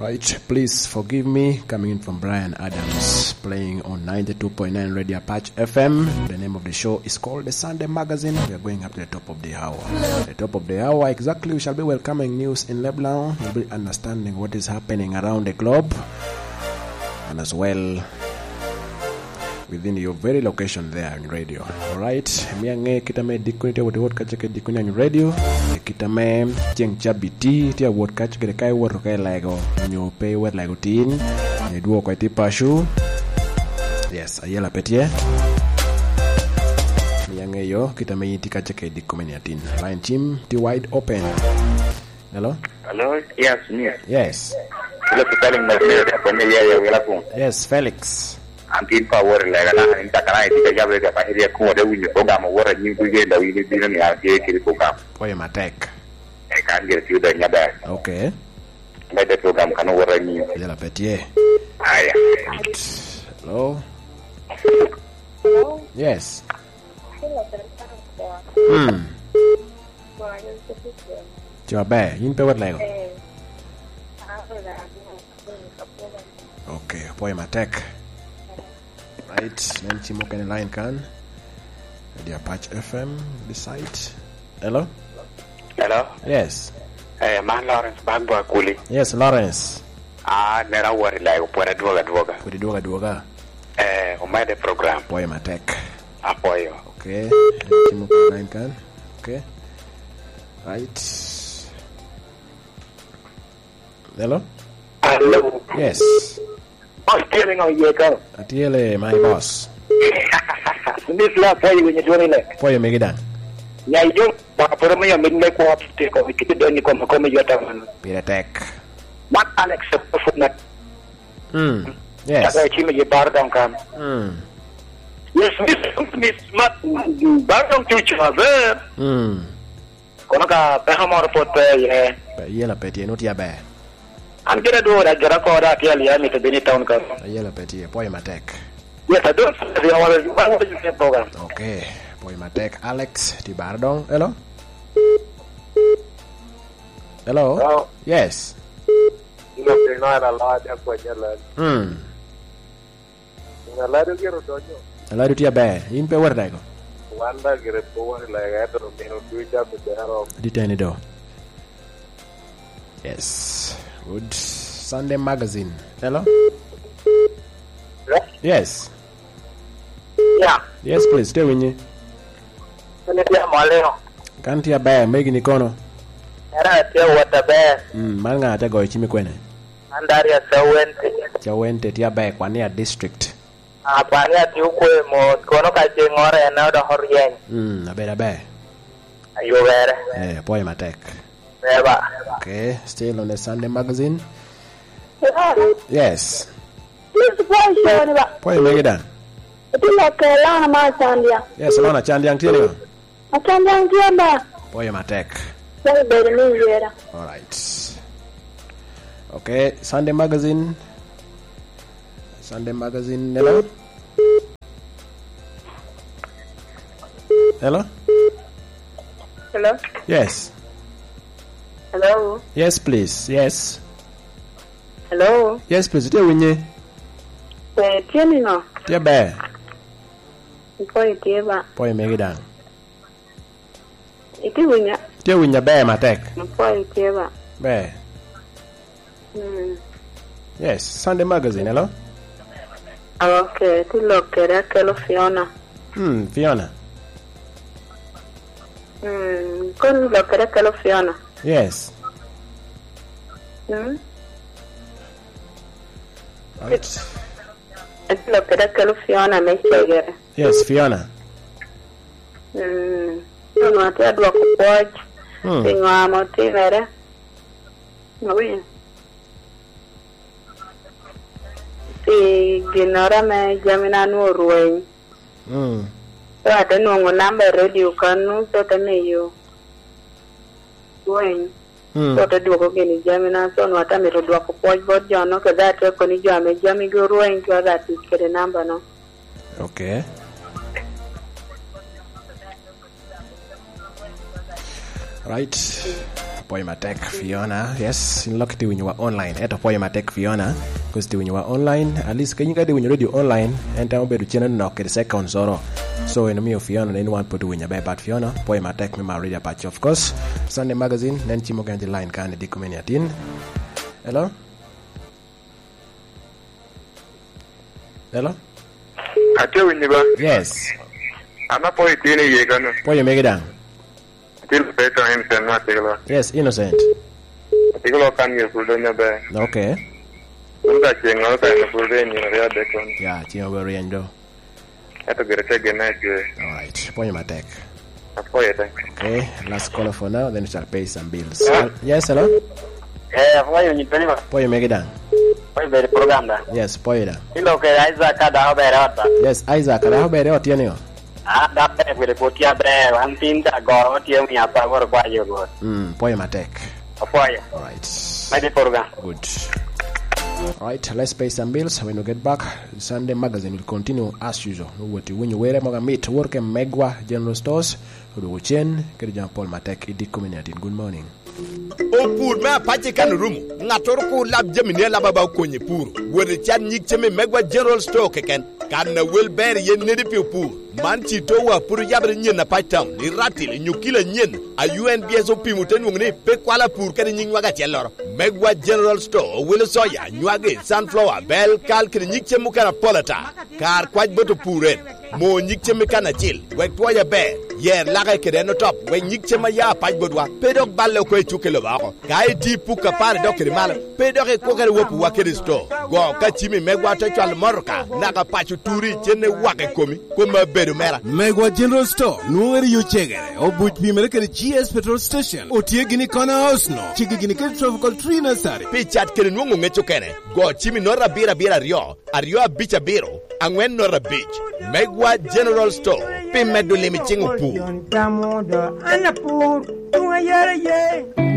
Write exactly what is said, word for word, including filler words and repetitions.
Right, please forgive me. Coming in from Brian Adams, playing on ninety-two point nine Radio Apache F M. The name of the show is called The Sunday Magazine. We are going up to the top of the hour. The top of the hour, exactly, we shall be welcoming news in Lebanon. We'll be understanding what is happening around the globe. And as well, within your very location there on radio. Alright, mia ŋe kit ame dikoni tye awot i wot kacce kede dikoni on radio. Kit ame ceŋ cabit tye awot kacce kede ka iwoto ka ilego, onyo pe iwot lego tin, onyo idwoko iti paco. Yes, ayela pe tye. Mia ŋeyo kit ame in tye kacce kede dikoni atin. Line cim tye wide open. Hello? Hello? Yes, miss. Yes. Hello, Sterling, my dear, Sterling, yeah, yeah, wela kun. Yes, Felix. An tin pa wori lega na, in takana, in tika jabe ka pa hiria kun wada winyo program wora nyin kuye da wini bino ni an tye kiri program. Pwoyo matek. E kan gire tiyo da nyada. Okay. Mede program kan wora nyin. Yala pe tye. Aya. Hello? Hello? Yes. Hmm. Ci maber, in pe wot lego. Okay, apwoyo matek. Right, nen ci mukene line kan. Radio Apache F M, the site. Hello? Hello? Yes. Eh, man Lawrence Bagbo Akuli. Yes, Lawrence. Ah, nera wori lego, pwod adwogo adwoga. Pwod idwogo adwoga. Eh, omede program. Apwoyo matek. Apwoyo. Okay. Timo online kan. Okay. Right. Hello? Hello. Yes. Boss, tye niŋo iye ka? Atye le, my boss. Miss la, pwoyo winyo dwoni le. Pwoyo megi daŋ. Ya ijo, ba pworo miyo mit me kwo tiko, ikiti doni koma, koma yota man. Pire tek. Man Alex, Fortnite. Mm. Yes. Kaka cim i bar doŋ kan. Mm. Yes, miss, miss, ma, bar doŋ tye ocoo aber. Mm. Kono ka peko moro pwod pe iye. Pe iye la pe tye, nut ya ber. An gire dwor, agire oko da, atye alia, mito bino i town ka. Iye la pe tye, pwoyo matek. Yes, I don't see the other, one of the program. Okay, pwoyo matek. Alex, ti bar doŋ. Hello? Hello? Hello? Yes. Ino piny wan aloc akwanya lal. Hmm. Ŋa lado gire odonyo? Alado tye aber. In pe wot i dago? Wan da gire pe wot i lega, ento omino duca pe bero. Di teni do. Yes. Good Sunday Magazine. Hello? Hello? Yes. Yeah. Yes, please. Tye winyi. Kene tye amolino. Kan tye aber, megi ni kono? Era tye wot aber. Mm, man ŋa te goyo cimi kwene? An Darius Cawente. Cawente tye aber, Kwania District. Ah, Kwania tye okwe mos, kono ka ce ŋore en odoko ryeny. Mm, aber aber. Ayubere. Eh, apwoyo matek. Beba. Okay, still on the Sunday magazine. Yeah. Yes. Please, pwoyo coni ba. Pwoyo megi daŋ. Iti lok ke Lona ma Acandiaŋ. Yes, Lona Acandiaŋ tye niŋo? Acandiaŋ tye ba. Pwoyo matek. Pwoyo bedo ni yera. All right. Okay, Sunday Magazine. Sunday Magazine, hello? Hello? Hello? Yes. Hello? Yes, please. Yes. Hello? Yes, please. Tye winye? Eh, tye niŋo? Tye ber. Pwoyo tye ba. Pwoyo megi daŋ. Itye winya? Tye winya ber matek. Pwoyo tye ba. Ber. Mm. Yes, Sunday Magazine, hello? Okay, ti lok kede akelo Fiona. Hmm, Fiona. Mm, kon lok kede akelo Fiona. Yes. Mm. Right. Ati lok kede akelo Fiona me cegere. Yes, Fiona. Mm. Onwongo atye adwoko pwoc. Mm. Pi ŋo ame otimere? Awinyo. Pi ginnoro ame jamina nwoŋo orweny. Mm. So ate nwoŋo namba i redio kannu, so te miyo rweny. Mm. So te dwoko gini jamina, so nwa te mito dwoko pwoc bot jo-nu, kede atye koni jo ame jamigi orweny, twero atic kede namba-nu. Okay. Right. Pwoyo matek, Fiona. Yes, in lok itye winyowa online. Ento pwoyo matek, Fiona. Because itye winyowa online. At least, kenyo ka itye winyo radio online, en tamo bedo cene nok kede seconds oro. So, en omio Fiona, en wan pwod winyo aber, but Fiona, pwoyo matek me maro radio apac. Of course, Sunday Magazine, nen cimo gen line kan i diko me niatin. Hello? Hello? Atye winyo ba? Yes. An apwoyo itino iye kano. Pwoyo megi daŋ. Atye Lupeta Ensen ma atye lok. Yes, Innocent. Atye lok kan myero pwod donyo be. Okay. Kun ka ceng ŋolo ka en pwod ryeny nino ryo adek kono. Ya, ceng obedo ryeny do. Ento gire te genne acwe. All right. Pwoyo matek. Apwoyo te. Okay, last caller for now, then we shall pay some bills. Yeah. Yes, hello? Eh, apwoyo nyi Tony ba. Pwoyo megi daŋ. Pwoyo bedo program da. Yes, pwoyo daŋ. Ilo ke Isaac ka dako bere ot ba. Yes, Isaac, ka dako bere ot, tye ni o? Ah, dako bere kwede pwod tye aber, an tin ta goro tye miya pa goro kwa yo goro. Mm, pwoyo matek. Apwoyo. All right. Mede program. Good. All right, let's pay some bills. When we get back, Sunday Magazine will continue as usual. Owoti winyo were moga mit, wor ke Megwa General Stores, odwogo cen, kede jami pol matek i dikko me niatin. Good morning. Opur me apac i kan orumo. Ŋattoro kur lab jamini alaba ba okonye puro. Wot i can nyig cem i Megwa General Store keken. Kan a wel ber iye nedi pi opur. Man ci towa pwod oyabere nyen apac town, i Ratil, i Nyukila nyen, a U N B S opimo te nwoŋo ni pe kwalo apur kede nyiŋ nwaga acelloro. Megwa General Store owilo soya, nywagi, sunflower, bel, kal kede nyig cem mukene apol ata. Kar kwac bot opur en, mo nyig cem i kan acil, wek twoye aber, yer lake kede en otop, wek nyig cem a ya apac botwa pe dok balle oko i cuk i lobo oko. Ka iti puk apar idok kede malo, pe dok ikwokere wopiwa kede sto. Go ka cimi megwa te cwalo motoka, naka paco turi, cen iwak i komi, koma bedo mera. Megwa General Store, nwoŋere yo cegere, obuc pimere kede G S Petrol Station, otye gini i Corner House no, cigi gini kede Tropical Tree Nursery. Pi cat kede nwoŋo ŋec okene, go cimi noto abiro abiro aryo, aryo abic abiro, aŋwen noto abic. Megwa General Store, pi medo lim i ciŋ opur. An apur, tuŋ ayara ye.